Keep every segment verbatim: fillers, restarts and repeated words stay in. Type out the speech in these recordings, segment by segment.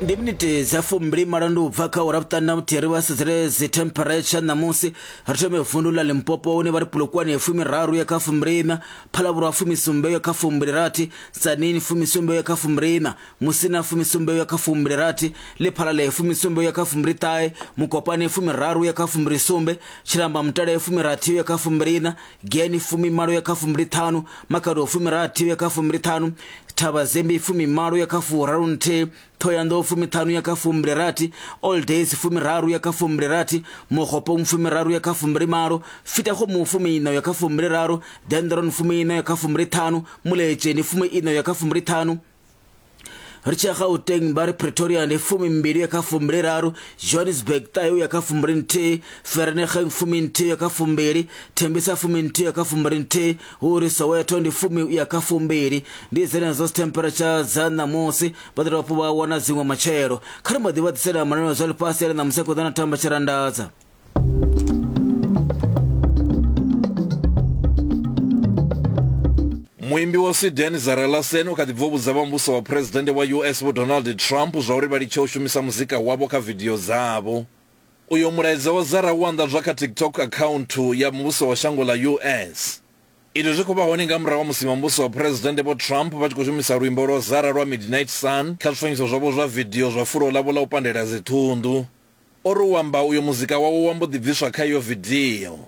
Ndi miniti dza fumbili malo ndi u bva kha ura vhuṱanu na vhuthihi. Ri vha sedzele dzi temperature ṋamusi. Ri thome vundu ḽa Limpopo hune vha ri Polokwane fumiraru ya kha fumbiliiṋa, Phalavhurwa fumisumbe ya kha fumbilirathi, Tzaneen fumisumbe ya kha fumbiliiṋa, Musina fumisumbe ya kha fumbilirathi, Lephalale fumisumbe ya kha fumbiliṱahe, Mokopane fumiraru ya kha fumbilisumbe, Tshilamba Mutale fumirathi ya kha fumbiliiṋa, Giyani fumimalo ya kha fumbiliṱhanu, Makhado fumirathi ya kha fumbiliṱhanu, Thavhazembi fumimalo ya kha furaru nthihi, Thohoyandou fumiṱhanu ya kha fumbilirathi, All Days fumiraru ya kha fumbilirathi, Mogopong fumiraru ya kha fumbilimalo, Fetakgomo fumiiṋa ya kha fumbiliraru, Dendron fumiiṋa ya kha fumbiliṱhanu, Muletšeni fumiiṋa ya kha fumbiliṱhanu. Ri tshi ya Gauteng vha ri Pretoria ndi fumimbili ya kha fumbiliraru, Johannesburg ṱahe ya kha fumbili nthihi, Vereeniging fuminthihi ya kha fumbili, Tembisa fuminthihi ya kha fumbili nthihi, hu uri Soweto ndi fumi ya kha fumbili. Ndi dzenedzo temperature dza ṋamusi, vha ḓo dovha hafhu vha wana dziṅwe matshelo. Kha ri mbo ḓi vha ḓisela mananeo zwa ḽifhasi ale ṋamusi a khou ḓa na thamba tshirandadza. Muimbi wa Sweden Zara Larsson u kha ḓi bva u vhudza vha muvhuso wa phuresidennde wa U S Vho Donald Trump zwa uri vha litshe u shumisa muzika wavho kha vidio dzavho. Uyo mulaedza wa Zara wo anḓadzwa kha TikTok akhaunthu ya muvhuso wa shango ḽa U S. Izwi zwi khou vha hone nga murahu ha musi muvhuso wa phuresidennde Vho Trump vha tshi khou shumisa luimbo lwa Zara lwa Midnight Sun kha zwifanyiso zwavho zwa vidio zwa fulo ḽavho ḽa u pandela dziṱhunḓu. O ri u amba uyo muzika wawe wa mbo ḓi bviswa kha iyo vidio.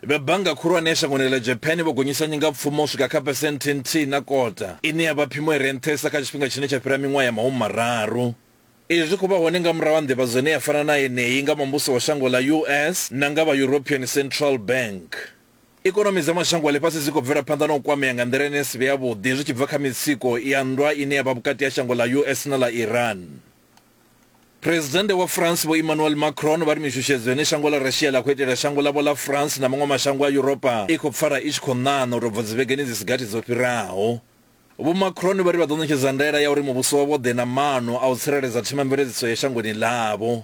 Vha bannga khulwane ya shangoni ḽa Japan vho gonyisa nyingapfumo u swika kha phesenthe nthihi na kota, ine ya vha phimo i re nṱhesa kha tshifhinga tshine tsha fhira miṅwaha ya mahumi mararu. Izwi zwi khou vha hone nga murahu ha nḓivhadzo ine ya fana na yeneyi nga muvhuso wa shango ḽa U S na nga vha European Central Bank. Ikonomi dza mashango a ḽifhasi dzi khou bvela phanḓa na u kwamea nga nḓila ine ya si vhe yavhuḓi zwi tshi bva kha mitsiko ya nndwa ine ya vha vhukati ha shango ḽa U S na ḽa Iran. Presidennde wa France Vho Emmanuel Macron vha ri mishushedzo ine shango ḽa Russia ḽa khou itela shango ḽavho ḽa France na maṅwe mashango a Yuropa i khou pfala i tshi khou ṋaṋa u tou bva dzivhegeni dzi si gathi dzo fhiraho. Vho Macron vha ri vha ḓo ṋetshedza ndaela ya uri muvhuso wavho ḓe na maano a u tsireledza themamveledziso ya shangoni ḽavho.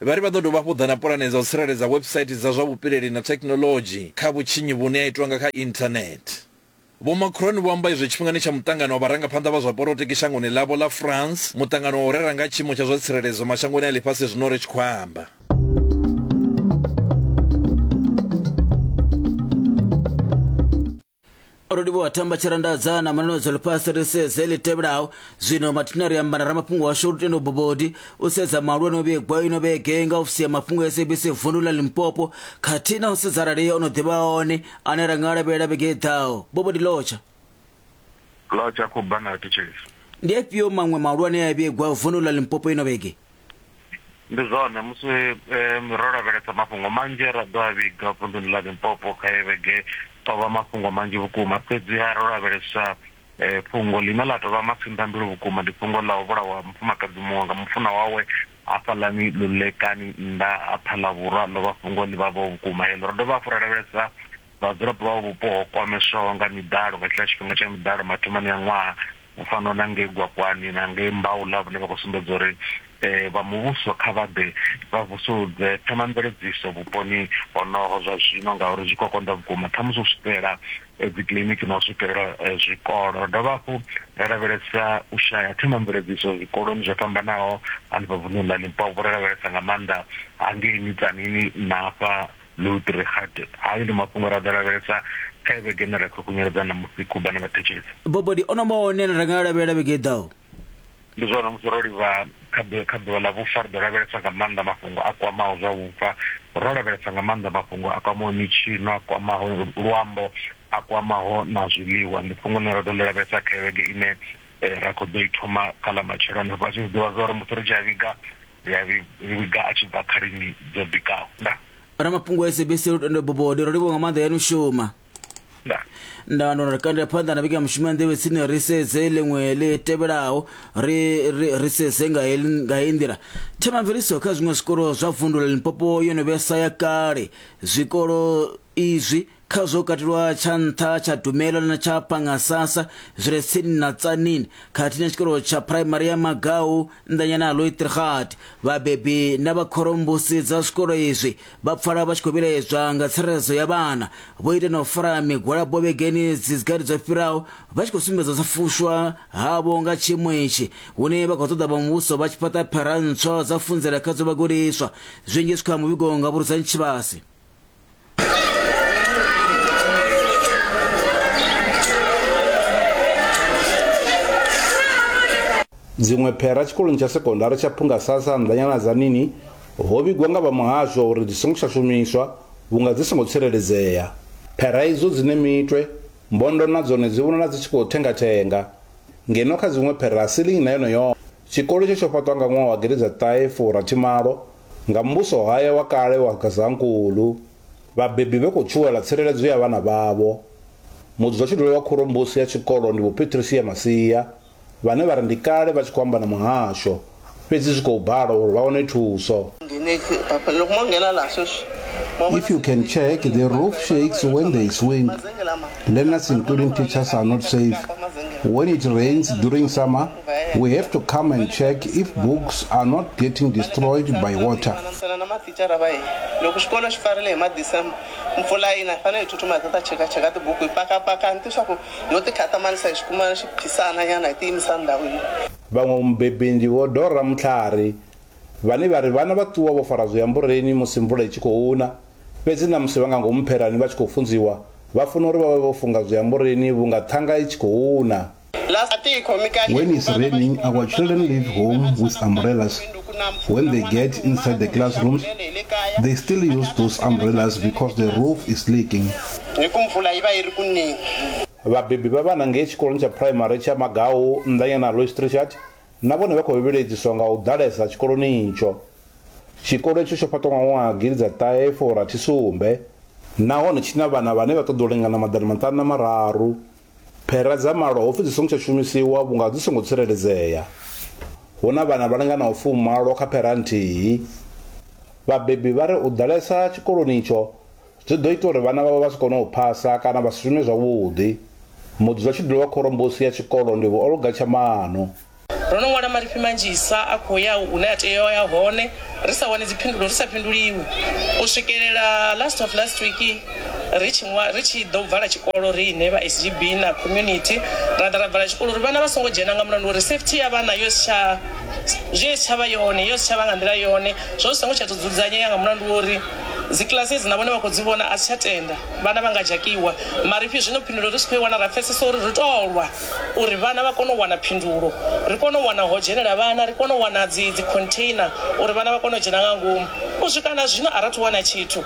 Vha ri vha ḓo dovha hafhu ḓa na pulane dza u tsireledza website dza zwa vhupileli na thekhinoḽodzhi kha vhutshinyi vhune ha itwa nga kha internet. Vho Macron vho amba izwi tshifhingani tsha muṱangano wa vharangaphanḓa vha zwa polotiki shangoni ḽavho ḽa France, muṱangano wa u rera nga tshiimo tsha zwa tsireledzo mashangoni a ḽifhasi zwino ri tshi khou amba. Ro livhuwa thamba tshirandadza na mananeo zwa ḽifhasi ri sedze ḽi tevhelaho. Zwino mathina ri amba na ramafhungo washu Lutendo Bobodi u sedza mahalwa no vhigwa ino vhege nga ofisi ya mafhungo ya S A B C vundu ḽa Limpopo khathihi na u sedza arali o no ḓivha hone ane ra nga lavhelela vhege i ḓaho. Bobodi lotsha. Lotsha khou bana thetshelesi. Ndi afhio maṅwe mahulwane a vhigwa vundu ḽa Limpopo ino vhege? Ndi zwone musi ro lavhelesa mafhungo manzhi ra ḓo a vhiga vunduni ḽa Limpopo kha vhege tovha mafhungo manzhi vhukuma, fhedziha ro lavhelesa fhungo ḽine ḽa tovha masinḓambilu vhukuma ndi fhungo ḽa u vhulawa mufumakadzi muṅwe nga mufuna wawe hafhaḽani Lulekani nnḓa ha Phalavhurwa, ḽo vha fhungo ḽi vhavhaho vhukuma heḽo. Ro dovha hafhu ra lavhelesa vhadzulapo vha vhupo ho kwameswaho nga miḓalo nga tshiḽa tshifhinga tsha miḓalo mathomoni a ṅwaha, u fana na ngei Gwakwani na ngei Mbaula, vhane vha khou sumbedza uri vha muvhuso kha vha ḓe vha vusuludze themamveledziso vhuponi honoho zwa zwino, ngauri zwi khou konḓa vhukuma ṱhamusi u swikelela dzi kiḽiniki na u swikelela zwikolo. Ro dovha hafhu ra lavhelesa u shaya themamveledziso zwikoloni zwo fhambanaho hanefha vunḓuni ḽa Limpopo, ro lavhelesa nga maanḓa hangei Mitsanini na hafha Loutrigat. Hayo ndi mafhungo ra ḓo lavhelesa kha vhege ine ra khou khunyeledza ṋamusi Kuba na vhathetshelesi. Bobodi ono maone ra nga lavhelela vhege i ḓaho? Ndi zwone musi ro livha kha ḓuvha ḽa vhufa ri ḓo lavhelesa nga maanḓa mafhungo a kwamaho zwa vhufa, ro lavhelesa nga maanḓa mafhungo a kwamaho mitshino, a kwamaho luambo, a kwamaho na zwiḽiwa. Ndi fhungo ḽine ra ḓo ḽi lavhelesa kha vhege ine ra khou ḓo i thoma kha ḽa matshelo. Vha tshi zwi ḓivha zwa uri musi ri tshi a vhiga ri a vhiga a tshi bva khalini dzo bikaho. Nda Ramafhungo a S A B C Lutendo Bobodi, ro livhuwa nga maanḓa yanu shuma. Nda ndo ri kandela phanḓa na vhege ya mushumo ya nḓevhe tsini ri sedze ḽiṅwe ḽi tevhelaho ri ri sedze nga nga heyi nḓila. Themamveledziso kha zwiṅwe zwikolo zwa vundu ḽa Limpopo yo no vhesa ya kale. Zwikolo izwi Kha zwo katelwa tsha nṱha tsha Dumelo na tsha Pangasasa zwi re tsini na Tzaneen khathihi na tshikolo tsha phuraimari ya Magau nnḓanyana ha Loitrigat. Vhabebi na vhakhorombusi dza zwikolo izwi vha pfala vha tshi khou vhilaedzwa nga tsireledzo ya vhana. Vho ita na u fara migwalabo vhegeni dzi gathi dzo fhiraho vha tshi khou sumbedza u sa fushwa havho nga tshiimo itshi, hune vha khou ṱoḓa vha muvhuso vha tshi fhaṱa phera ntswa dza funzela khadzo vhagudiswa. Zwinzhi zwi kha muvhigo nga Vhurudzani Tshivhase. Dziṅwe phera tshikoloni tsha sekondari tsha Phungasasa nnḓanyana Tzaneen ho vhigwa nga vha muhasho uri dzi songo tsha shumiswa vhunga dzi songo tsireledzea. Phera idzo dzine mitwe, mbondo na dzone dzi vhonala dzi tshi khou thengathenga, ngeno kha dziṅwe phera silingi na yone yo. Tshikolo itsho tsho fhaṱwa nga ṅwaha wa gidi dza ṱahe furathi malo nga muvhuso haya wa kale wa Gazankulu. Vhabebi vha khou tshuwela tsireledzo ya vhana vhavho. Mudzulatshidulo wa khorombusi ya tshikolo ndi Vho Patricia Masia, vhane vha ri ndi kale vha tshi khou amba na muhasho, fhedzi zwi khou bala uri vha wane thuso. If you can check, the roof shakes when there is wind. Learners, including teachers, are not safe. When it rains during summer, we have to come and check if books are not getting destroyed by water. Vhaṅwe mubebi ndi Vho Dora Mutlhari, vhane vha ri vhana vha ṱuwa vho fara zwiambureni musi mvula i tshi khou na, fhedzi na musi vha nga ngomu pherani vha tshi khou funziwa vha funa uri vha vhe vho funga zwiambureni vhunga ṱhanga i tshi khou na. When it's raining, our children leave home with umbrellas. When they get inside the classrooms, they still use those umbrellas because the roof is leaking. Vhabebi vha vhana ngei tshikoloni tsha phuraimari tsha Magau nnḓanyana Loistrichard na vhone vha khou vhiledziswa nga u ḓalesa tshikoloni itsho. Tshikolo itsho tsho fhaṱwa nga ṅwaha gidi dza ṱahe furathi sumbe nahone tshi na vhana vhane vha ṱoḓa u lingana maḓana maṱanu na mararu. Phera dza malo ho pfi dzi songo tsha shumisiwa vhunga dzi songo tsireledzea. Hu na vhana vha linganaho fumalo kha phera nthihi. Vhabebi vha ri u ḓalesa tshikoloni itsho zwi ḓo ita uri vhana vhavho vha si kone u phasa kana vha si shume zwavhuḓi. Mudzulatshidulo wa khorombusi ya tshikolo ndi Vho Olga Tshamano. Ro no ṅwala marifhi manzhisa a khou ya hune a tea u ya hone, ri sa wani dziphindulo, ri sa phinduliwi. U swikelela last of last week ri tshi ri tshi ḓo vala tshikolo riṋe vha S G B na community ra ḓa ra vala tshikolo uri vhana vha songo dzhena nga mulandu uri safety ya vhana yo si tsha zwi si tsha vha yone, yo si tsha vha nga nḓila yone, zwo zwi songo tsha tou dzudzanyea nga mulandu uri dzi classes na vhone vha khou dzi vhona a si tsha tenda vhana vha nga dzhakiwa. Marifhi zwino phindulo ri si khou i wana, ra pfesesa uri ri tou lwa uri vhana vha kone u wana phindulo, ri kone u wana ho dzhenela vhana, ri kone u wana dzi dzi container uri vhana vha kone u dzhena nga ngomu. U swika na zwino a ra thu wana tshithu.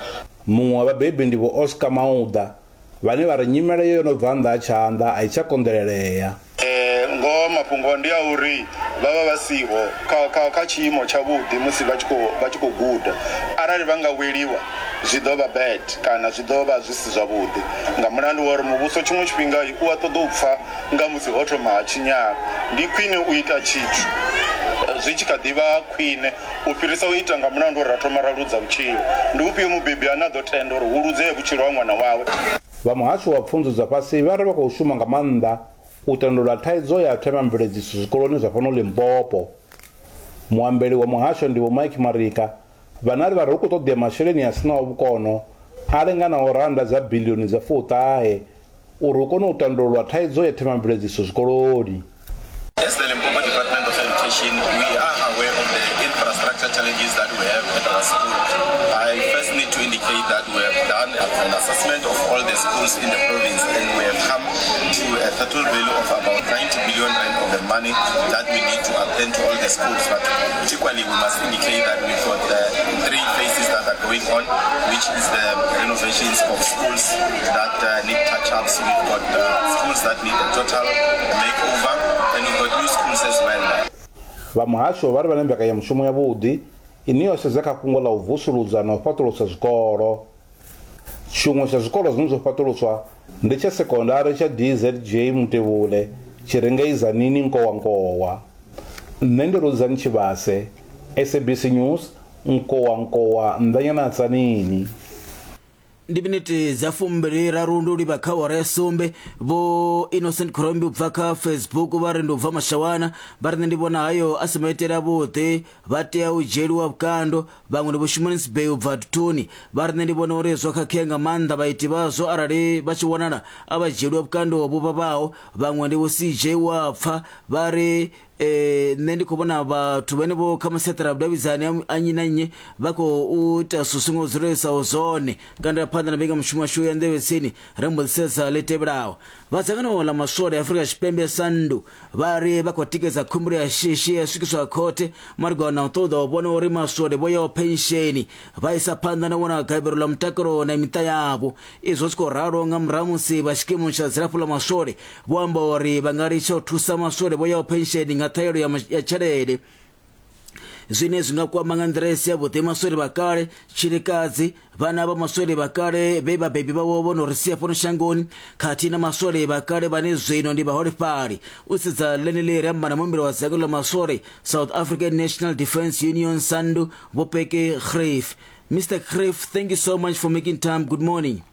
Muṅwe wa vhabebi ndi Vho Oscar Mauda, vhane vha ri nyimele yo no bva nnḓa ha tshanḓa a i tsha konḓelelea. Ngoho mafhungo ndi a uri vha vha vha siho kha kha kha tshiimo tshavhuḓi musi vha tshi khou vha tshi khou guda. Arali vha nga weliwa zwi ḓo vha bad kana zwi ḓo vha zwi si zwavhuḓi, nga mulandu wa uri muvhuso tshiṅwe tshifhinga u a ṱoḓa u pfha nga musi ho thoma ha tshinyala. Ndi khwine u ita tshithu zwi tshi kha ḓi vha khwine u fhirisa u ita nga mulandu uri ra thoma ra ludza vhutshilo. Ndi ufhio mubebi ane a ḓo tenda uri hu ludzee vhutshilo ha ṅwana wawe? Vha muhasho wa pfunzo dza fhasi vha ri vha khou shuma nga maanḓa u tandulula thaidzo ya themamveledziso zwikoloni zwa fhano Limpopo. Muambeli wa muhasho ndi Vho Mike Marika, vhane vha ri hu khou ṱoḓea masheleni a sinaho vhukono a linganaho rannda dza biḽioni dza fuṱahe uri hu kone u tandululwa thaidzo ya themamveledziso zwikoloni. As the Limpopo Department of Education, we are aware of the infrastructure challenges that we have at our school. I first need to indicate that we have done an assessment of all the schools in the province, and we have come to a total value of about ninety billion rand of the money that we need to attend to all the schools. But equally, we must indicate that we've got the three phases that are going on, which is the renovations of schools that uh, need touch-ups. We've got uh, schools that need a total makeover, and we've got new schools as well. Vha muhasho vha ri vha na mbekanyamushumo yavhuḓi ine yo sedza kha fhungo ḽa u vusuludza na u fhaṱulusa zwikolo. Tshiṅwe tsha zwikolo zwine zwo fhaṱuluswa ndi tsha sekondari tsha D Z J Mutevhule tshi re ngei Tzaneen Nkowankowa. Nṋe ndi Rudzani Tshivhase, S A B C News, Nkowankowa, nnḓanyana Tzaneen. Ndi miniti dza fumbili raru ndi u livha kha awara ya sumbe. Vho Innocent Khorombi u bva kha Facebook vha ri ndi u bva Mashawana, vha ri nṋe ndi vhona hayo a si maitele avhuḓi, vha tea u dzhieliwa vhukando. Vhaṅwe ndi Vho Shumani Sibei u bva Tuthuni, vha ri nṋe ndi vhona uri zwo khakhea nga maanḓa, vhaiti vhazwo arali vha tshi wanala a vha dzhieliwa vhukando vhu vhavhaho. Vhaṅwe ndi Vho C J Wapfa, vha ri eh nṋe ndi khou vhona vhathu vhane vho kha masiaṱari a vhudavhidzani a nnyi na nnyi vha khou ita zwithu songo dzulesaho zwone. Kanda phanḓa na mbekanyamushumo yashu ya nḓevhe tsini ri mbo ḓi sedza ḽi tevhelaho. Vha dzangano ḽa maswole Afrika Tshipembe SANDU vha ri vha khou tikedza khumbelo ya shishi ya swikiswa khothe malugana na u ṱoḓa u vhona uri maswole vho yaho pensheni vha isa phanḓa na u wana gavhelo ḽa mutakalo na miṱa yavho. Izwo zwi khou ralo nga murahu musi vha tshikimu tsha dzilafho ḽa maswole vho amba uri vha nga litsha u thusa maswole vho yaho pensheni nga ṱhaelo ya tshelede, zwine zwi nga kwama nga nḓila i si yavhuḓi maswole vha kale, tshilikadzi, vhana vha maswole vha kale vhe vhabebi vhavho vho no ri sia fhano shangoni, khathihi na maswole vha kale vhane zwino ndi vhaholefhali. U sedza ḽeneḽi ri amba na muimbeli wa dzangano ḽa maswole South African National Defence Union SANDU, Vho Peke Greef. Mister Greef, thank you so much for making time. Good morning.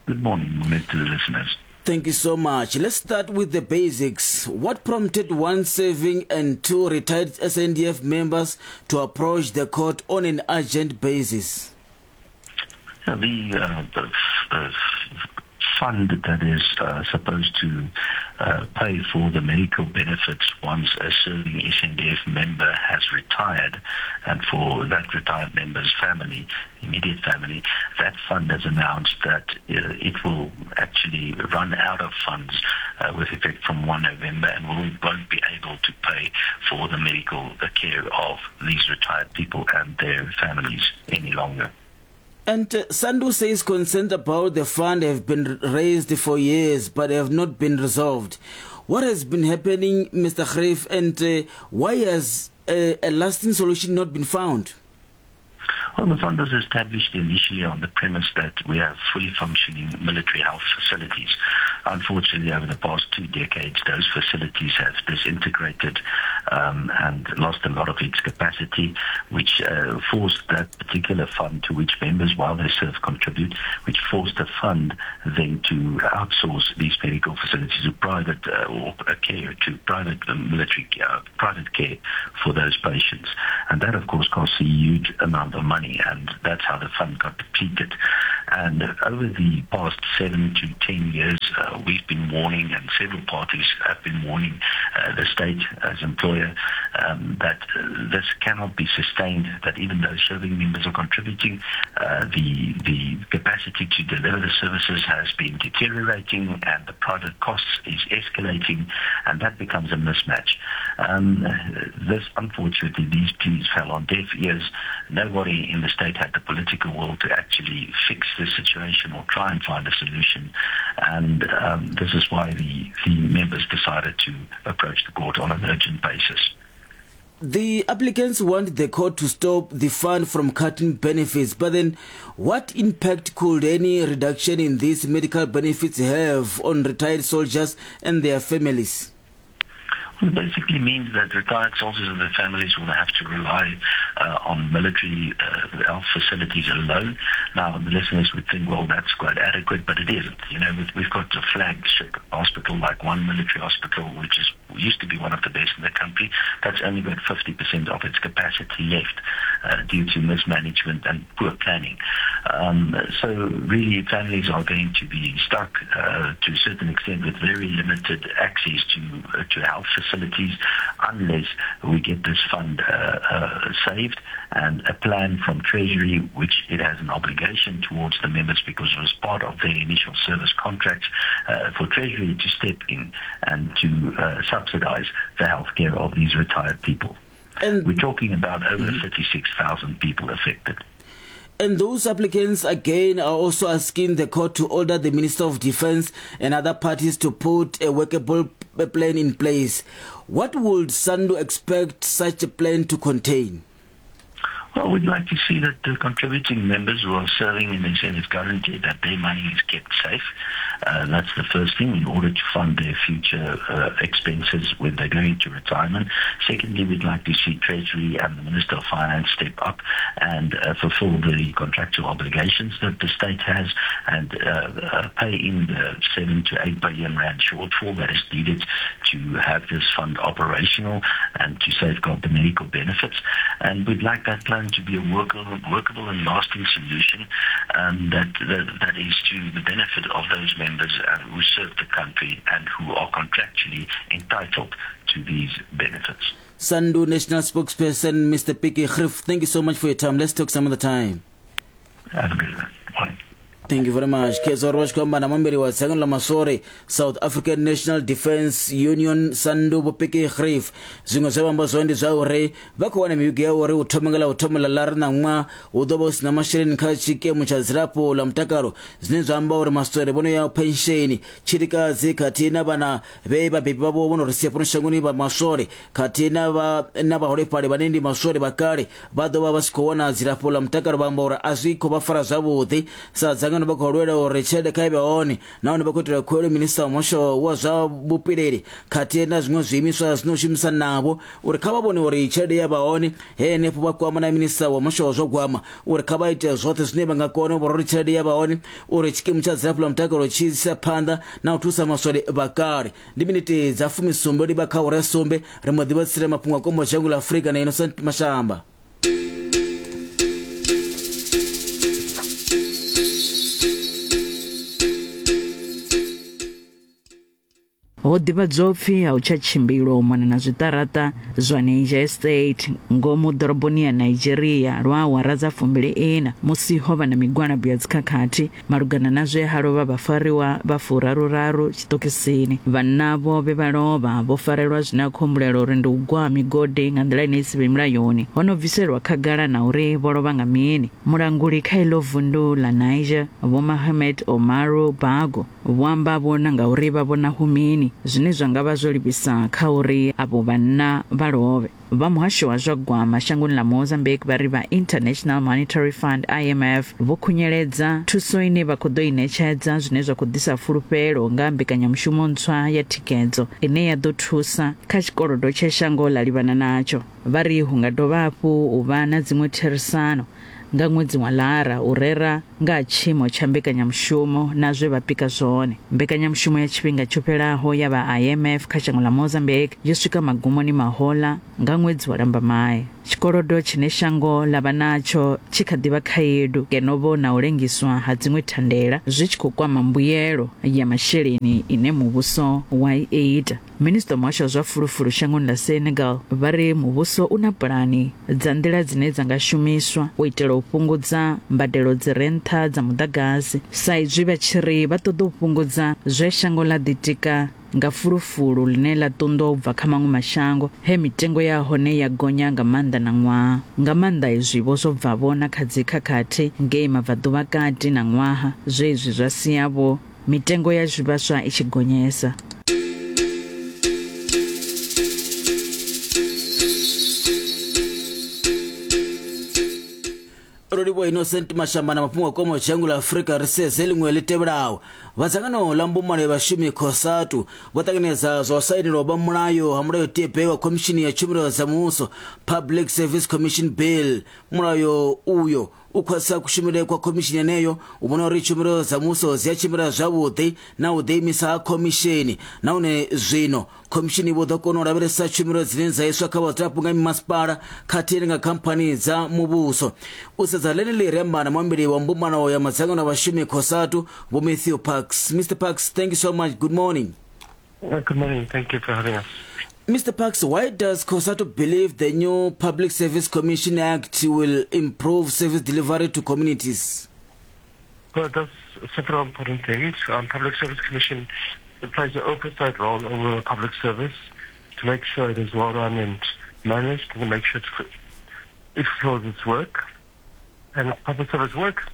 Good morning, to the listeners. Thank you so much. Let's start with the basics. What prompted one serving and two retired S N D F members to approach the court on an urgent basis? Yeah, the, uh, the, the fund that is uh, supposed to uh, pay for the medical benefits once a serving S N D F member has retired, and for that retired member's family, immediate family, that fund has announced that uh, it will actually run out of funds uh, with effect from first November, and will, won't be able to pay for the medical care of these retired people and their families any longer. And uh, SANDU says concerns about the fund have been raised for years but have not been resolved. What has been happening, Mister Greef, and uh, why has uh, a lasting solution not been found? Well, the fund was established initially on the premise that we have fully functioning military health facilities. Unfortunately, over the past two decades, those facilities have disintegrated um, and lost a lot of its capacity, which uh, forced that particular fund, to which members, while they serve, contribute, which forced the fund then to outsource these medical facilities to private uh, or care, to private military, uh, private care for those patients. And that, of course, costs a huge amount of money, and that's how the fund got depleted. And over the past seven to ten years, uh, we've been warning, and several parties have been warning uh, the state as employer um, that uh, this cannot be sustained, that even though serving members are contributing, uh, the, the capacity to deliver the services has been deteriorating and the private costs is escalating, and that becomes a mismatch. Um, this, unfortunately, these pleas fell on deaf ears. Nobody in the state had the political will to actually fix the situation or try and find a solution, and um, this is why the, the members decided to approach the court on an urgent basis. The applicants want the court to stop the fund from cutting benefits, but then what impact could any reduction in these medical benefits have on retired soldiers and their families? Well, it basically means that retired soldiers and their families will have to rely uh, on military uh, health facilities alone. Now, the listeners would think, well, that's quite adequate, but it isn't. You know, we've, we've got a flagship hospital, like one military hospital, which is used to be one of the best in the country. That's only got fifty percent of its capacity left uh, due to mismanagement and poor planning. Um, so really, families are going to be stuck uh, to a certain extent with very limited access to, uh, to health facilities. facilities unless we get this fund uh, uh, saved and a plan from Treasury, which it has an obligation towards the members because it was part of their initial service contracts, uh, for Treasury to step in and to uh, subsidize the healthcare of these retired people. And we're talking about over mm-hmm. thirty-six thousand people affected. And those applicants, again, are also asking the court to order the Minister of Defense and other parties to put a workable plan in place. What would SANDU expect such a plan to contain? Well, we'd like to see that the contributing members who are serving in the S N F currently, that their money is kept safe. Uh, that's the first thing in order to fund their future uh, expenses when they go into retirement. Secondly, we'd like to see Treasury and the Minister of Finance step up and uh, fulfill the contractual obligations that the state has and uh, uh, pay in the seven to eight billion rand shortfall that is needed to have this fund operational and to safeguard the medical benefits. And we'd like that plan to be a workable, workable and lasting solution um, that, that that is to the benefit of those members uh, who serve the country and who are contractually entitled to these benefits. SANDU National Spokesperson, Mister Pikkie Greef, thank you so much for your time. Let's talk some other time. Have a good one. Bye. Thank you very much. Kezo ri vha tshi khou amba na muambeli wa dzangano ḽa maswole South African National Defence Union SANDU Vho Pikkie Greef. Zwiṅwe zwe vha amba zwone ndi zwa uri vha khou wana mivhigo ya uri u thoma nga ḽa u thoma ḽa ḽara ṋaṅwaha hu ḓo vha hu sina masheleni kha tshikemu tsha dzilafho ḽa mutakalo, zwine zwa amba uri maswole vho no ya pensheni, tshilikadzi khathihi na vhana vhe vhabebi vhavho vho no ri sia fhano shangoni vha maswole khathihi na vha na vhaholefhali vhane ndi maswole vha kale vha ḓo vha vha si khou wana dzilafho ḽa mutakalo. Vha amba uri a zwi khou vha fara zwavhuḓi sa dzangano vha khou lwela uri tshelede kha i vhe hone, nahone vha khou itela khuwelelo minista wa muhasho wa zwa vhupileli khathihi na zwiṅwe zwiimiswa zwino shumisa navho uri kha vha vhone uri tshelede ya vha hone. Henefho vha kwama na minista wa muhasho wa zwa gwama uri kha vha ite zwoṱhe zwine vha nga kona u vhona uri tshelede ya vha hone uri tshikimu tsha dzilafho ḽa mutakalo tshi isa phanḓa na u thusa maswole vha kale. Ndi miniti dza fumisumbe livha kha awara ya sumbe ri mbo ḓi vha tsire mafhungo a kombo dzhango ḽa Afrika na Innocent Mashamba. Ho ḓivhadzwa upfi a hu tsha tshimbilwa u mona na zwiṱaraṱa zwa Niger State ngomu ḓoroboni ya Nigeria lwa awara dza fumbili ina musi ho vha na migwalabo ya dzikhakhathi malugana na zwe ha lovha vhafariwa vha furaruraru tshiṱokisini. Vhanna vho vhe vha lovha vho farelwa zwine a khou humbulelwa uri ndi u gwa migodi nga nḓila ine i si vhe mulayoni. Ho no bviselwa khagala na uri vho lovha nga mini. Mulanguli kha iḽo vundu ḽa Niger Vho Mohamed Omaru Bago vho amba vhona nga uri vha vhona hu mini zwine zwa nga vha zwo livhisa kha uri avho vhanna vha lovhe. Vha muhasho wa zwa gwama shangoni ḽa Mozambique vha ri vha International Monetary Fund I M F vho khunyeledza thuso ine vha khou ḓo i ṋetshedza zwine zwa khou ḓisa fulufhelo nga mbekanyamushumo ntswa ya thikhedzo ine ya ḓo thusa kha tshikolodo tshe shango ḽa livhana natsho. Vha ri hu nga dovha hafhu u vha na dziṅwe therisano nga ṅwedzi wa Lara u rera nga tshiimo tsha mbekanyamushumo na zwe vha pika zwone. Mbekanyamushumo ya tshifhinga tsho fhelaho ya vha I M F kha shango ḽa Mozambique yo swika magumoni mahola nga ṅwedzi wa Lambamai. Tshikolodo tshine shango ḽa vha natsho tshi kha ḓi vha khaedu ngeno vho na u lengiswa ha dziṅwe thandela zwi tshi khou kwama mbuyelo ya masheleni ine muvhuso wa i ita. Minista wa muhasho wa zwa fulufulu shangoni ḽa Senegal vha ri muvhuso u na pulani dza nḓila dzine dza nga shumiswa u itela u fhungudza mbadelo dzi re nṱha dza muḓagasi, sa izwi vha tshi ri vha ṱoḓa u fhungudza zwe shango ḽa ḓitika nga fulufulu ḽine ḽa ṱunḓwa u bva kha maṅwe mashango he mitengo ya hone ya gonya nga maanḓa na ṅwaha. Nga maanḓa izwi vho zwo bva vho na kha dzikhakhathi ngei mabvaḓuvha kati na ṅwaha, zwe izwi zwa sia vho mitengo ya zwivhaswa i tshi gonyesa. Rolivho Innocent Mashamba na mafhungo a komo dzhango ḽa Afrika ri sedze ḽiṅwe ḽi tevhelaho. Vha dzangano ḽa mbumbano ya vhashumi COSATU vho ṱanganedza zwa u sainelwa vha mulayo ha mulayotibe wa khomishini ya tshumelo dza muvhuso Public Service Commission Bill. Mulayo uyo u khwaṱhisa kushumele kwa khomishini yeneyo u vhona uri tshumelo dza muvhuso dzi a tshimbila zwavhuḓi na u ḓiimisa ha khomishini, nahone zwino khomishini vho ḓo kona u lavhelesa tshumelo dzine dza iswa kha vhadzulapo nga mimasipala khathihi nga khamphani dza muvhuso. U sedza ḽeneḽi ri amba na muambeli wa mbumbano ya madzangano a vhashumi COSATU Vho Matthew Parks. Mister Parks, thank you so much. Good morning. Uh, good morning. Thank you for having us. Mister Parks, why does COSATU believe the new Public Service Commission Act will improve service delivery to communities? Well, it does several important things. Um, Public Service Commission plays an oversight role over the public service to make sure it is well run and managed, and to make sure it fulfills its work. And if public service works,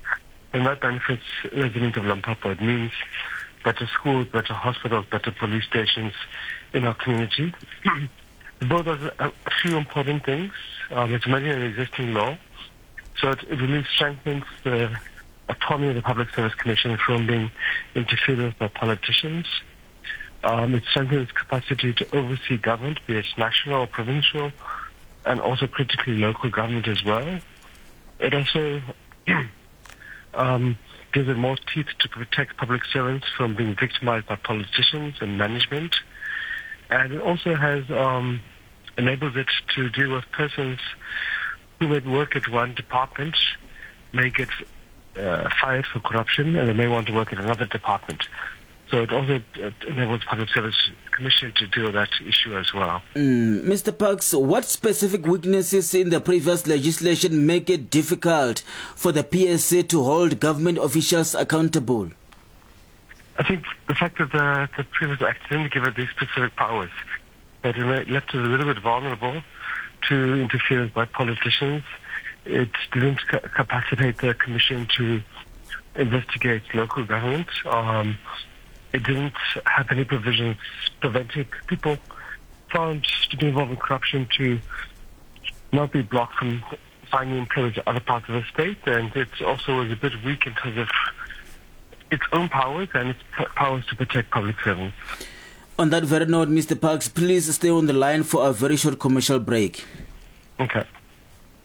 then that benefits residents of Limpopo. It means better schools, better hospitals, better police stations in our community. The bill does a few important things. Um, it's amending an existing law So it, it really strengthens the autonomy of the Public Service Commission from being interfered with by politicians. Um, it strengthens its capacity to oversee government, be it national or provincial, and also critically local government as well. It also um, gives it more teeth to protect public servants from being victimized by politicians and management. And it also has um, enables it to deal with persons who may work at one department, may get uh, fired for corruption, and they may want to work at another department. So it also enables the Public Service Commission to deal with that issue as well. Mm, Mister Parks, what specific weaknesses in the previous legislation make it difficult for the P S C to hold government officials accountable? I think the fact that the, the previous act didn't give it these specific powers, that it left it a little bit vulnerable to interference by politicians. It didn't capacitate the Commission to investigate local government. Um, it didn't have any provisions preventing people found to be involved in corruption to not be blocked from finding employment in other parts of the state. And it also was a bit weak in terms of its own powers and its powers to protect public servants. On that very note, Mister Parks, please stay on the line for a very short commercial break. Okay.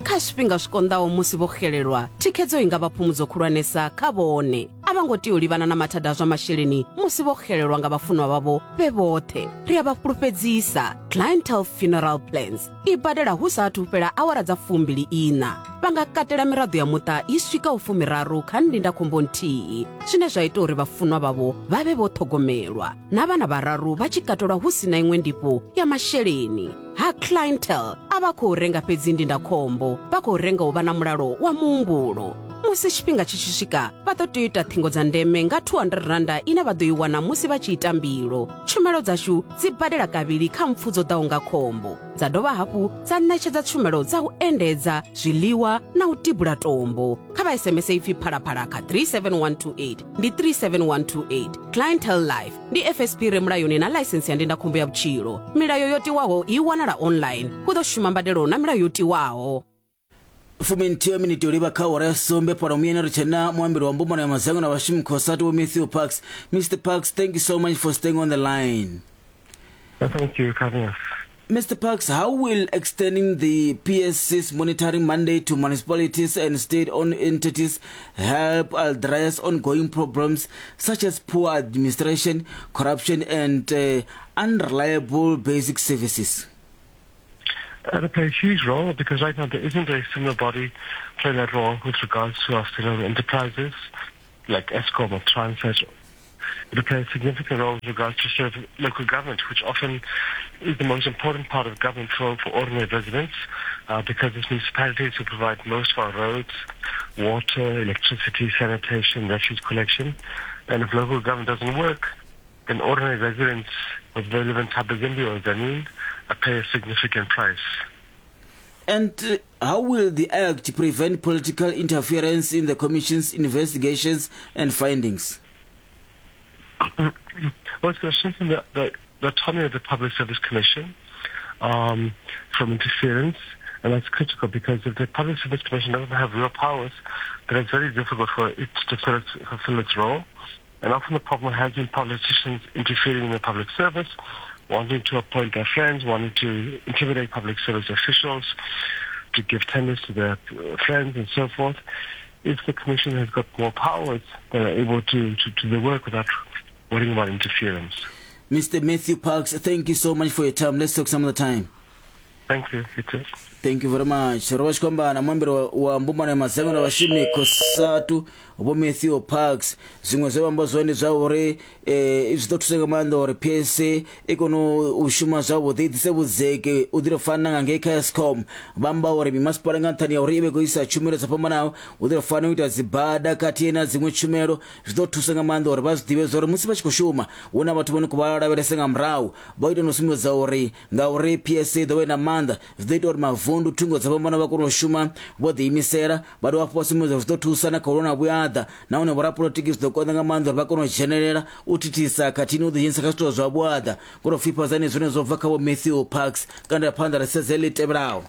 Kha zwifhinga zwi konḓaho musi vho xelelwa, thikhedzo i nga vha phumudzo khulwanesa kha vhone. A vha ngo tea u livhana na mathada a zwa masheleni musi vho xelelwa nga vhafunwa vhavho vhe vhoṱhe. Ri a vha fhulufhedzisa, Clientele Funeral Plans i badela hu sa athu fhela awara dza fumbili ina. Vha nga katela miraḓo ya muṱa i swikaho fumiraru kha ndindakhombo nthihi, zwine zwa ita uri vhafunwa vhavho vha vhe vho ṱhogomelwa, na vhana vhararu vha tshi katelwa hu si na iṅwe ndifho ya masheleni. Ha Clientele a vha khou renga fhedzi ndindakhombo, vha khou renga u vha na mulalo wa muhumbulo. Musi tshifhinga tshi tshi swika, vha ḓo tea u ita ṱhingo dza ndeme nga two hundred randa ine vha ḓo i wana musi vha tshi ita mbilo. Tshumelo dzashu dzi badela kavhili kha mpfu dzo ḓaho nga khombo, dza dovha hafhu dza ṋetshedza tshumelo dza u endedza, zwiḽiwa na u tibula tombo. Kha vha S M S ipfi Phalaphala kha three seven one two eight, ndi three seven one two eight. Clientele Life ndi F S P re mulayoni na ḽaisensi ya ndindakhombo ya vhutshilo. Milayo yo tiwaho i wanala online. Hu ḓo shuma mbadelo na milayo yo tiwaho. Fuminthihi miniti u livha kha awara ya sumbe fhano muyeni ri tshena muambeli wa mbumbano ya madzangano a vhashumi COSATU Vho Matthew Parks. Mister Parks, thank you so much for staying on the line. Thank you for having us. Mister Parks, how will extending the P S C's monitoring mandate to municipalities and state-owned entities help address ongoing problems such as poor administration, corruption, and uh, unreliable basic services? It'll play a huge role because right now there isn't a similar body playing that role with regards to our state-owned enterprises like Eskom or Transnet. It'll play a significant role with regards to serve local government, which often is the most important part of government for, for ordinary residents, uh, because it's municipalities who provide most of our roads, water, electricity, sanitation, refuse collection. And if local government doesn't work, then ordinary residents, whether they live in Thabazimbi or Tzaneen, pay a significant price. And uh, how will the Act prevent political interference in the Commission's investigations and findings? Well, it's going to strengthen the, the, the autonomy of the Public Service Commission um, from interference, and that's critical because if the Public Service Commission doesn't have real powers, then it's very difficult for it to fulfill its, fulfill its role. And often the problem has been politicians interfering in the public service, wanting to appoint their friends, wanting to intimidate public service officials, to give tenders to their friends and so forth. If the Commission has got more powers, they are able to, to, to do the work without worrying about interference. Mister Matthew Parks, thank you so much for your time. Let's talk some other time. Thank you. You too. Thank you very much. Ro vha tshi khou amba na muambeli wa mbumbano ya madzangano a vhashumi COSATU Vho Matthew Parks. Zwiṅwe zwe vha amba zwone zwa uri eh zwi ḓo thusa nga maanḓa uri P S C i kone u shuma zwavhuḓi, i ḓise vhudzeki u ḓi fana nga ngei kha Eskom. Vha amba uri mimasipala nga nṱhani ya uri i vhe khou isa tshumelo dzo fhambanaho, u ḓi fana u ita dzibada khathihi na dziṅwe tshumelo, zwi ḓo thusa nga maanḓa uri vha zwi ḓivhe uri musi vha tshi khou shuma hu na vhathu vhane khou vha lavhelesa nga murahu. Vha ita no sumbedza uri ngauri P S C i ḓo vha i na maanḓa, zwi ḓo ita uri mavundu thungo dza fhambana vha kone u shuma vho ḓiimisela. Vha dovha hafhu vha sumbedza zwi ḓo thusa na kha u lwa na vhuaḓa, nahone vhorapolotiki zwi ḓo konḓa nga maanḓa uri vha kone u dzhenelela u thithisa khathihi na u ḓidzhenisa kha zwithu zwa vhuaḓa. Kono fhifhadzani zwone zwo bva kha Vho Matthew Parks. Kanda phanḓa ri sedze ḽi tevhelaho.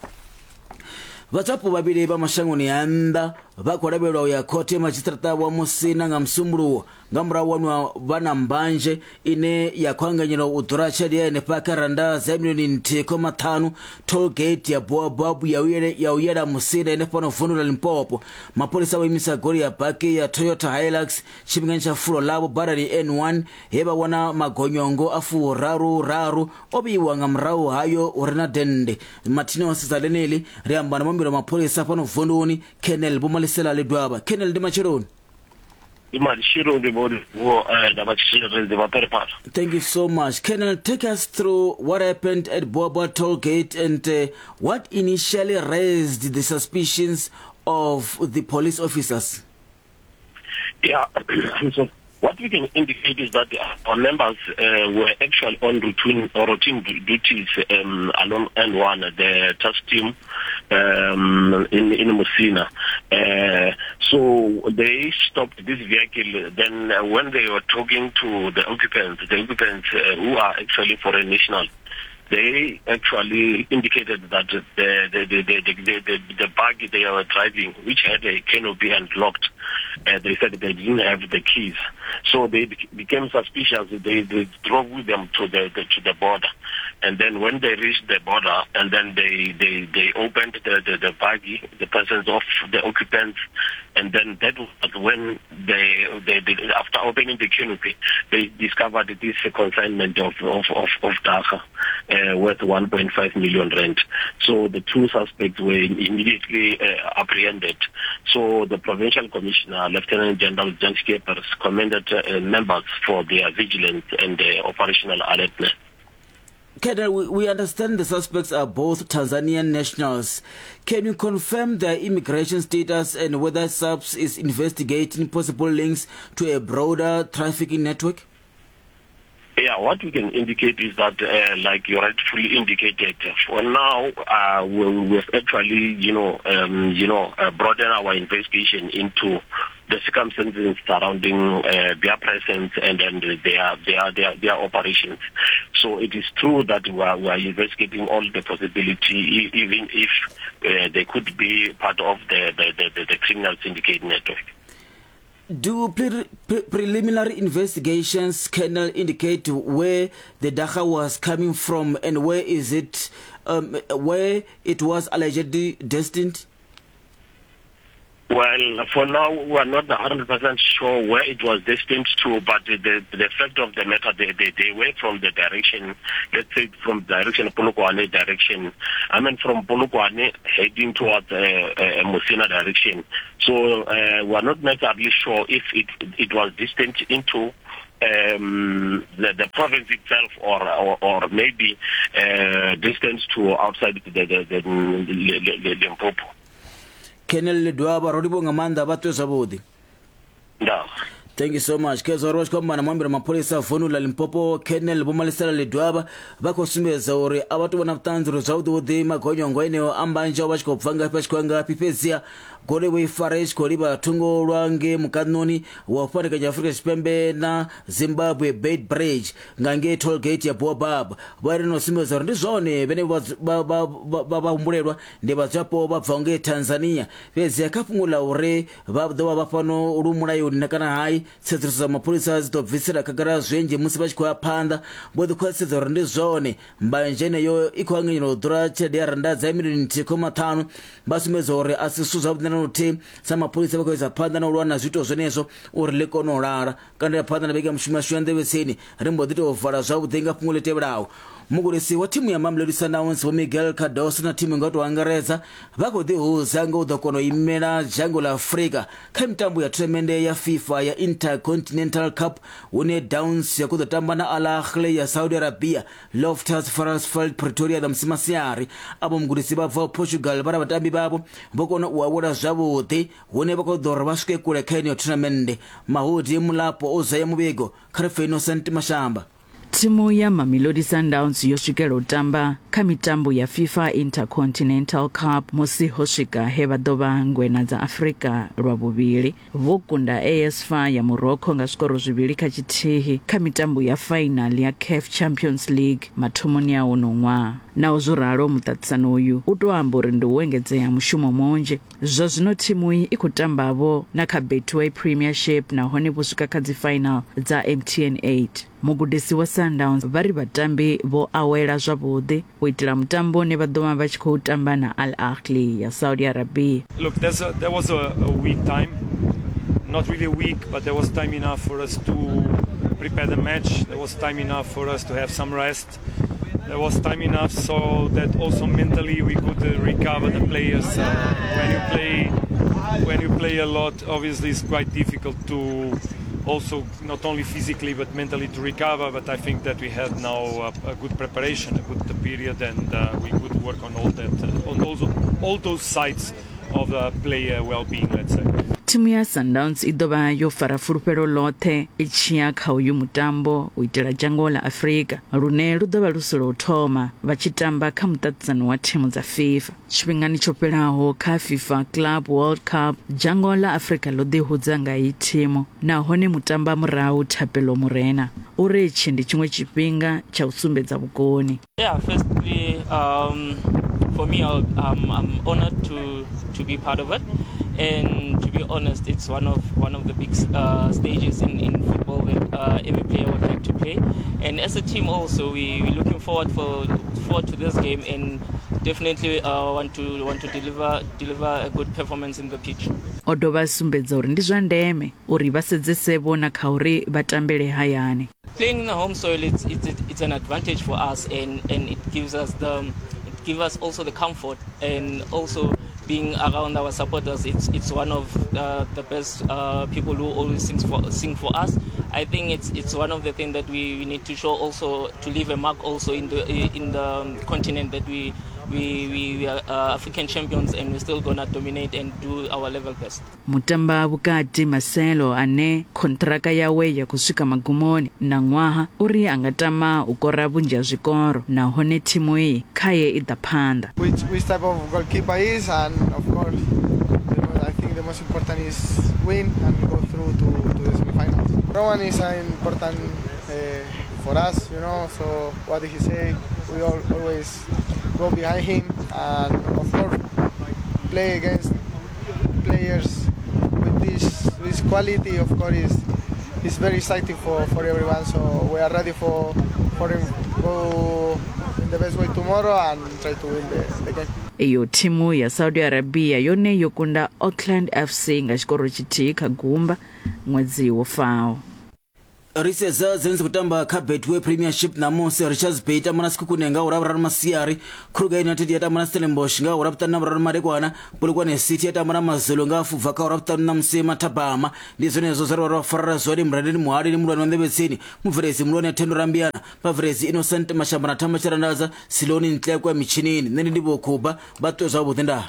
Vhadzulapo vhavhili vha mashangoni a nnḓa vha khou lavhelelwa u ya khothe ya madzhisiṱiraṱa wa Musina nga Musumbuluwo nga murahu wanwa vha na mbanzhe ine ya khou anganyelwa u ḓura tshelede ya henefha kha randa dza milioni nthihi khoma ṱhanu tollgate ya Boabab ya u yela Musina henefha no vundu ḽa Limpopo. Mapholisa vho imisa goloi ya baki ya Toyota Hilux tshifhingani tsha fulo ḽavho badani N one he vha wana magonyongo a furaru raru o vheiwa nga murahu hayo hu re na dennde. Mathina wa sedza ḽeneḽi ri amba na muambeli wa mapholisa fhano vunduni Colonel Vho Malisela Ledwaba. Colonel, ndi matsheloni. Thank you so much. Colonel, take us through what happened at Boabab toll gate and uh, what initially raised the suspicions of the police officers. Yeah, so what we can indicate is that our members uh, were actually on routine, or routine duties um, along N one, the task team um, in, in Musina. Uh, so they stopped this vehicle. Then uh, when they were talking to the occupants, the occupants uh, who are actually foreign nationals, they actually indicated that the the the the, the, the, the buggy they were driving, which had a canopy and locked, uh, they said they didn't have the keys. So they became suspicious. They, they drove with them to the, the to the border, and then when they reached the border, and then they they, they opened the, the, the buggy, the persons of the occupants, and then that was when they, they, they after opening the canopy, they discovered this consignment of of of, of dagga. Uh, worth one point five million rand. So the two suspects were immediately uh, apprehended. So the provincial commissioner, Lieutenant General Jan Skeepers, commended uh, members for their vigilance and uh, operational alertness. Colonel, we, we understand the suspects are both Tanzanian nationals. Can you confirm their immigration status and whether S A P S is investigating possible links to a broader trafficking network? Yeah, what we can indicate is that, uh, like you rightfully indicated, for now, uh, we, we've actually, you know, um, you know, uh, broadened our investigation into the circumstances surrounding uh, their presence and then their, their, their, their operations. So it is true that we are, we are investigating all the possibility, even if uh, they could be part of the, the, the, the criminal syndicate network. Do pre- pre- preliminary investigations, Colonel, indicate where the dagga was coming from and where is it, um, where it was allegedly destined? Well, for now, we are not one hundred percent sure where it was destined to, but the, the, the fact of the matter, they, they, they were from the direction, let's say from direction Polokwane direction, I mean from Polokwane heading towards uh, uh, Musina direction. So uh, we are not necessarily sure if it, it was destined into um, the, the province itself or, or, or maybe uh, distance to outside the, the, the, the, the Limpopo. Colonel Ledwaba, ro livhuwa nga maanḓa, vha ṱwe zwavhuḓi. No. Thank you so much. Khezwo ro tshi khou amba na muambeli wa mapholisa vundu ḽa Limpopo Colonel Vho Malisela Ledwaba, vha khou sumbedza uri a vha tou vhona vhuṱanzi uri zwavhuḓi vhuḓi magonyongo eneo a mbanzhe vha tshi khou bva ngafhi vha tshi khou ya ngafhi, fhedziha goloi vho i fara i tshi khou livha thungo lwa ngei mukanoni wa u fhandekanya Afrika Tshipembe na Zimbabwe Beit Bridge nga ngei toll gate ya Boabab. Vha ri no sumbedza uri ndi zwone vhene vha vha humbulelwa ndi vhadzulapo vha bvaho ngei Tanzania, fhedziha kha fhungo ḽa uri vha ḓo vha vha fhano lu mulayoni kana hai, tsedzuluso dza mapholisa dzi ḓo bvisela khagala zwinzhi musi vha tshi khou ya phanḓa. Vho ḓi khwaṱhisedza uri ndi zwone mbanzhe eneyo i khou anganyelwa u ḓura tshelede ya randa dza milioni nthihi khoma ṱhanu. Vha sumbedza uri a si zwithu zwavhuḓi na luthihi sa mapholisa vha khou isa phanḓa na u lwa na zwiito zwenezwo uri ḽi kone u lala. Kanda ya phanḓa na vhege ya mushumo yashu ya nḓevhetsini ri mbo ḓi tou vala zwavhuḓi nga fhungo ḽi tevhelaho. Mugudisi wa thimu ya Mamelodi Sundowns Vho Miguel Cardoso na thimu nga u tou angaredza vha khou ḓihudza nga u ḓo kona u imela dzhango ḽa Afrika kha mitambo ya themende ya FIFA ya Intercontinental Cup, hune Downs ya khou ḓo tamba na Al Ahly ya Saudi Arabia Loftus Versfeld Pretoria ṋamusi masiari. Avho mugudisi vha bvaho Portugal vha na vhatambi vhavho vho kona u awela zwavhuḓi, hune vha khou ḓo uri vha swike kule kha yeneyo thonamennde. Mahudi Mulapo o zaya muvhigo kha ri pfe Innocent Mashamba. Thimu ya Mamelodi Sundowns yo swikela u tamba kha mitambo ya FIFA Intercontinental Cup musi ho swika he vha ḓo vha ngwena dza Afrika lwa vhuvhili. Vho kunda A S F A ya Morocco nga zwikoro zwivhili kha tshithihi kha mitambo ya final ya C A F Champions League mathomoni a uno ṅwaha. Naho zwo ralo, muṱaṱisano uyu u tou amba uri ndi u engedzea mushumo munzhi. Zwa zwino thimu iyi i khou tambavho na kha Betway Premiership nahone vho swika kha dzi final dza M T N eight. Mugudisi wa Sundowns vha ri vhatambi vho awela zwavhuḓi u itela mutambo une vha ḓo vha vha tshi khou tamba na Al Ahly ya Saudi Arabia. Look, there's a, there was a, a week time, not really a week, but there was time enough for us to prepare the match. There was time enough for us to have some rest. There was time enough so that also mentally we could uh, recover the players. Uh, when you play, when you play a lot, obviously it's quite difficult to also not only physically but mentally to recover. But I think that we had now a, a good preparation, a good period, and uh, we could work on all that, uh, on those, all those sides of the player well-being, let's say. Thimu ya Sundowns i ḓo vha yo fara fulufhelo ḽoṱhe i tshi ya kha uyu mutambo u itela dzhango ḽa Afrika lune lu ḓo vha lu si lwa u thoma vha tshi tamba kha muṱaṱisano wa thimu dza FIFA. Tshifhingani tsho fhelaho kha FIFA Club World Cup, dzhango ḽa Afrika ḽo ḓihudza nga iyi thimu nahone mutamba murahu Thapelo Morena uri itshi ndi tshiṅwe tshifhinga tsha u sumbedza vhukoni. Yeah, firstly, um, for me, I'm, I'm honored to, to be part of it. And to be honest, it's one of one of the big uh, stages in, in football that uh, every player would like to play. And as a team also, we, we're looking forward for forward to this game and definitely uh, want to want to deliver deliver a good performance in the pitch. O dovha sumbedza uri ndi zwa ndeme uri vha sedzese vhona kha uri vha tambele hayani. Playing in the home soil, it's it's it's an advantage for us, and, and it gives us the it gives us also the comfort, and also being around our supporters, it's it's one of uh, the best uh, people who always sings for sing for us. I think it's it's one of the things that we, we need to show also, to leave a mark also in the in the continent that we we we, we are uh, African champions, and we're still gonna dominate and do our level best. Mutamba vhukati Marcelo ane kontraka yawe ya kuswika magumoni na ṅwaha uri anga tama u kora vhunzhi ha zwikoro nahone thimu iyi khaye i ḓa phanḓa. Which which type of goalkeeper is, and of course the, I think the most important is win and go through to, to the semifinals. No one is important uh, for us, you know, so what did he say? We all always go behind him, and of course play against players with this this quality, of course, is is very exciting for, for everyone. So we are ready for for him go in the best way tomorrow and try to win the, the game. Iyo thimu ya Saudi Arabia yone yo kunda Auckland F C nga tshikoro tshithihi kha gumba ṅwedzi wo faho. Risedza dzine kutamba kha Betway Premiership namusi Richards Bay tamba na Sekhukhune nga ura vhuraru masiari, Kruger United ya tamba na Stellenbosch nga ura vhuṱanu na vhuraru madekwana, Polokwane City ya tamba na Mazulu nga fubva kha ura vhuṱanu na musi mathabama. Ndi zwenezwo zwe ra farara zwone Murandeni Muhali ni mulwani wa Nḓevhetsini, Mubveledzi mulwani Thendo Rambiana, Vhabveledzi Innocent Mashamba na Thamba Tshirandaza, Siloni Ntlekwe mitshinini. Nṋe ndi Vho Khuba, vha ṱwe zwavhuḓi ndaa.